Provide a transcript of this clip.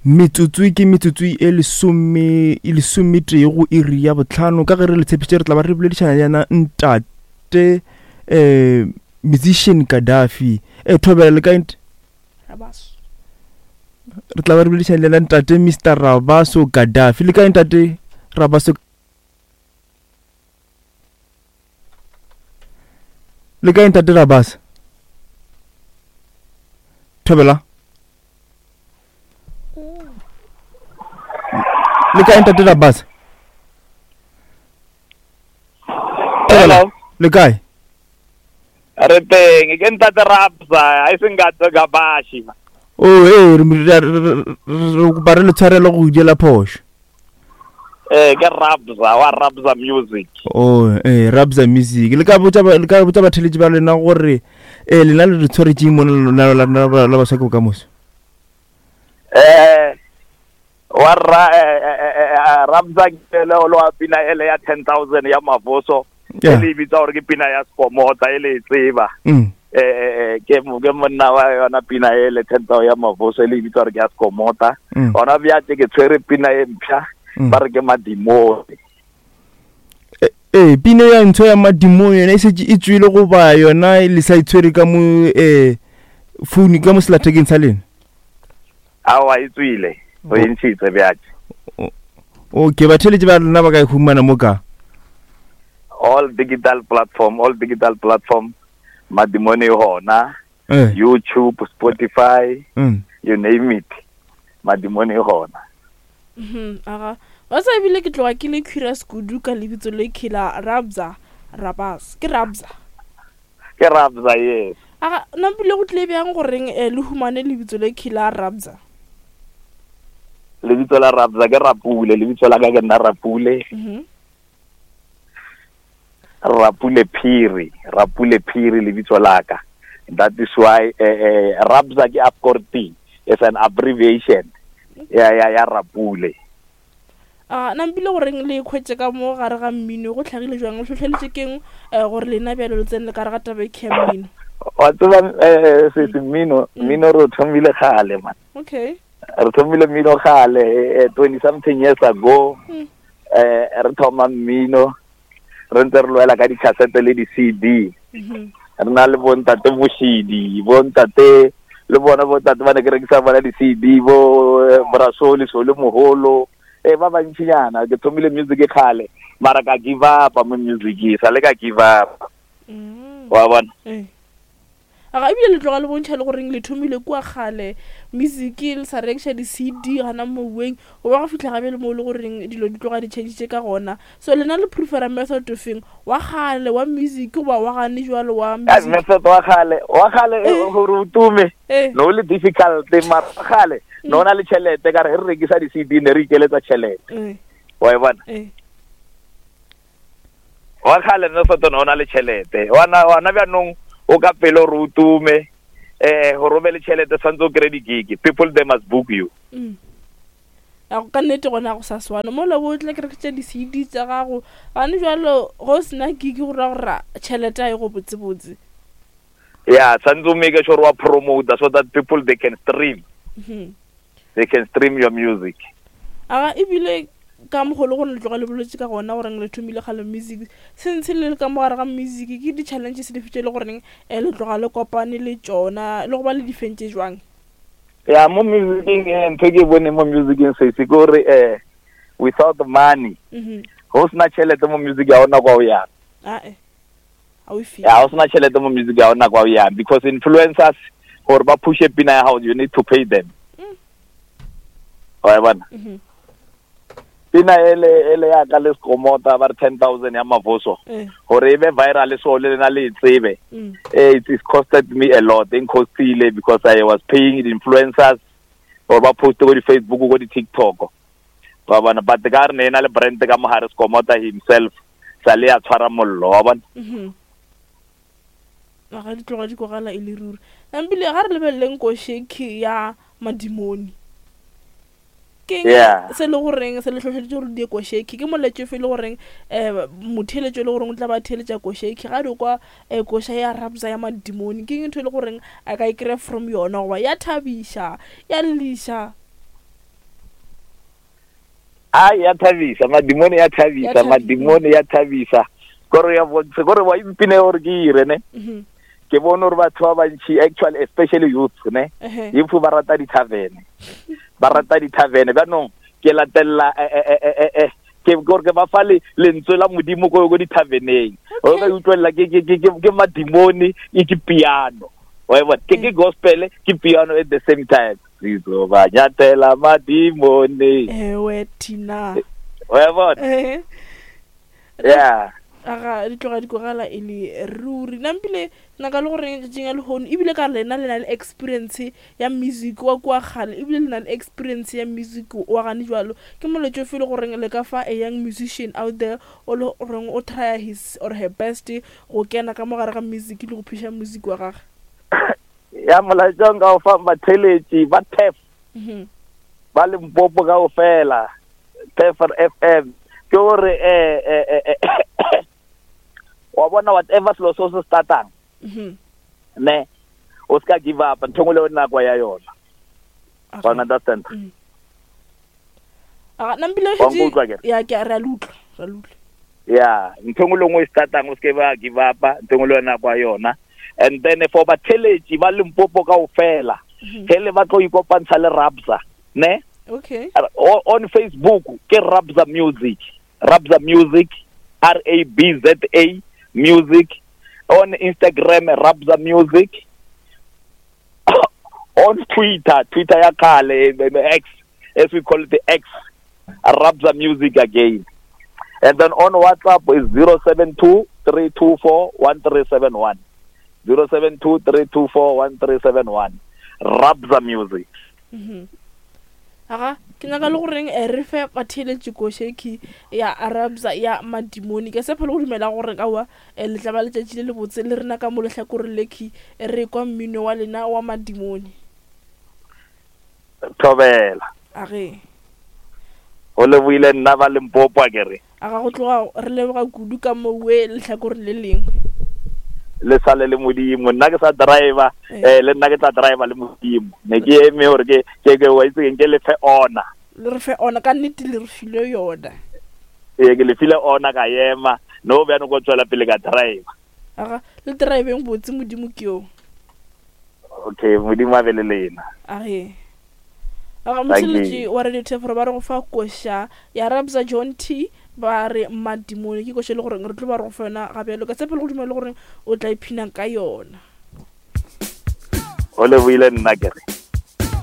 Metsotso ke metsotso e lesome e lesometee go iri ya botlhano ka ge re le tshepišitše re tla ba re boledišana le yena ntate um musician Gaddafi e thobela le kae Rabaso. Re tla ba re boledišana le yena ntate Mr Rabaso Gaddafi le kae ntate Rabaso le kae ntate Rabasa thobela le kae ntate Rabasa Hello. le kae Re teng, ke ntate Rabsa, a e seng ka Gabashi. o ee re re kopa re le tshwarelo go diela phošo Eh, ke Rabza, wa Rabza Music. Oh, eh, Rabza Music. Le ka botša le ka botša batheletši ba lena gore eh lena le re tshwaretšeng mo la la la la baswa ke bokamoso. Eh, wa ra eh, eh, eh, eh Rabza ke le lo wa pina ele ya 10000 ya Mavoso. E le bitsa gore ke pina ya Skomota e le e tseba. Mm. Eh, eh, eh ke ke monna wa yona pina ele 10000 ya Mavoso e le bitsa gore ke ya Skomota. Mm. Ona bjatse ke tshwere pina e mpsha. Mm. Ba re ke madimone. Ee, pina ya ntsho ya madimone yona e šetše e tswile goba yona le sa itshwere ka mo eh phone ka mo selathekeng sa lena? Aowa e tswile, o e ntšhitse bjatše. Okay, batheeletši ba lena ba ka e humana mo ka? All digital platform, all digital platform, madimone e gona, Eh. YouTube, Spotify, Mm. you name it, madimone e gona. Mhm, aga wa sa ebile ke tloga ke le curious kudu ka lebitso le khela Rabza Rabas ke Rabza Ke Rabza, yes. Aga nampile go tlile bjang goreng eh, le humane lebitso le khela Rabza? Lebitso la Rabza ke Rapule, lebitso la ka ke nna Rapule. Mhm. Rapule Phiri, Rapule Phiri lebitso la ka. That is why eh, eh, Rabza ke Afkorti, it's an abbreviation ya ya ya Rapule. A nampile goreng le ikhwetše ka mo gare ga mmino go hlagile jwang le hlohleletše keng eh, gore lena bjalo le tsene le ka re ga taba e ya mmino? Wa tseba eh, se se mmino, mmino re o thomile kgale man. Okay. Re thomile mmino kgale eh, 20 something years ago. Mm. Eh re thoma mmino re ntse re lwela ka di-cassette le di-CD. Mhm. Re na le bontate Moshidi, bontate le bona bontate ba ne ke rekisa bona di-CD bo eh, Brasoli Sole Moholo eh ba bantšinyana. Ke thomile music kgale mara ka give up mo music sa le ka give up. Mm. Wa bona? Eh. Aga ebile le tloga le bontšha le goreng le thomile kua kgale music le sa rekiša di-CD gana moweng go ba go fihla gabe le mo le goreng dilo di tloga di changitše ka gona. So lena le prefera method ofeng wa kgale wa music goba wa gane jwalo wa Ka music? method wa kgale, wa kgale Eh. gore o tume Eh. no le difficult mara wa kgale no na le tšhelete ka re re rekisa di-CD ne re ikeletsa tšhelete. Eh. Wa e bona? Eh. Wa kgale method no na le tšhelete. Wana wana bjanong o ka pele gore o tume eh gore o be le tšhelete tshwanetse o kry di-gig. People they must book you. Mm. Ya go ka nnete gona go sa swana mola o tla ke rekisa di-CD tša gago gane jwalo go o sena gig go ra gore tšhelete a e go botsebotse. Yeah, tshwanetse o make sure wa promote so that people they can stream. Mhm. They can stream your music. Aga ebile ka mogolo gore le tloga le boletse ka gona goreng le thomile kgale music since le le ka mogare ga music ke di-challenges dife tše le goreng eh, le tloga le kopane le tšona le go ba le di fentše jwang? Ya mo musicing eh, ntho e ke e boneng mo musicing se se ke gore eh without money Mhm. go sena tšhelete mo music ya ona kwa o yang. Ae. A o e feel. Ya go sena tšhelete mo music ya ona kwa o yang because influencers gore ba pushe pina ya gago you need to pay them. Mm. Wa e bona? Mhm. Pina ele ele ya ka le Skomota ba re 10,000 ya Mavoso Eh. gore e be viral so le lena le e tsebe. Mm. Eh, it is costed me a lot. E costile because I was paying the influencers or ba post go di Facebook go di TikTok. Wa bona but ka re ne ena le brand ka mogare Skomota himself sa le ya tshwara mollo wa bona. Mhm. Ga di tloga di kwagala e le ruri. Ebile ga re lebeleleng košeki ya madimoni. Ke eng Yeah. se le goreng se le hlohleleditše gore di ye košeki? Ke molaetšo ofe e le goreng eh motheeletšo e le goreng o tla ba theeletša košeki ga di kwa eh, koša ya Rabza ya madimoni? Ke eng ntho e le goreng a ka e kry-a from yona goba ya thabiša ya lliša? A ya thabisa, madimone ya thabisa, madimone ya thabisa. Kore ya bontshe, kore wa impine gore ke ire ne. Mm-hmm. Ke bone gore batho ba bantši actually especially youth ne. Youth ba rata di-tavern. Ba rata di-tavern. Jaanong ke latelela eh, eh, eh, eh, ke gore ke ba fa le lentswe la modimo ko ko dithaveneng o ka utlwelela ke ke ke ke madimone e ke piano wa e bona ke ke gospel ke piano at the same time Sizobanyathela amadimoni. Ewe thina. Wa bona? Yeah. Aga di tloga di kogala e le ruri. Nampile nna ka le gore tšatšing ya lehono ebile ka lena le na le experience ya music wa kua kgale ebile le na le experience ya music wa gane jwalo. Ke moletšo ofe le goreng le ka fa a young musician out there o le goreng o trya his or her best go kena ka mo gare ga music le go phuša music wa gage? Ya molaetša nka o fa batheletši ba TEF ba Limpopo kaofela, TEF FM, ke gore eh wa bona whatever selo se o se startang ne o ska give up, ntho engwe le nako ya yona. Wa understand? Aga nampile Wa nkutlwa ke? Ya ke re a le utlwa, re a le utlwa. Ya, ntho engwe le nngwe e startang o seke ba give up, ntho engwe le yona kwa yona. And then for batheletši ba Limpopo kaofela, ge le batlo ikopantsha le Rabza, ne? Okay. On Facebook ke Rabza Music, Rabza Music, R A B Z A Music. On Instagram Rabza Music. On Twitter, Twitter ya kgale, X, as we call it, the X, Rabza Music again. And then on WhatsApp is 072 324 1371. 072 324 1371. Rabza Music. Aga ke nyaka le goreng re fe batheeletši košeki ya Rabza ya madimoni. Ke tshepa le go dumela gore kaowa le tla ba letšatši le lebotse le rena ka mo lehlakoreng lekhi re kwa mmino wa lena wa madimoni. Thobela. Age. Go leboile nna ba Limpopo a ke re. Aga go tloga re leboga kudu ka mowe lehlakoreng le lengwe. Le sale le modimo, nna ke sa driver, le nna ke tla driver le modimo. Ne ke eme gore ke ke ke wa itse ke le fe ona. Le re fe ona ka nnete, le re file yona. Ee, ke le file ona ka ema, no bjano go tswela pele ka driver. Aga le driveng botse, modimo ke yo. Okay, modimo a be le lena. Age. Aga motheletši wa Radio Theforo ba re go fa koša ya Rabza John T ba re madimoni, ke koša e le goreng re tlo ba re go fa yona ga bjalo. Ka tshepo le go dumela le goreng o tla ipshina ka yona. O leboile nna ke re.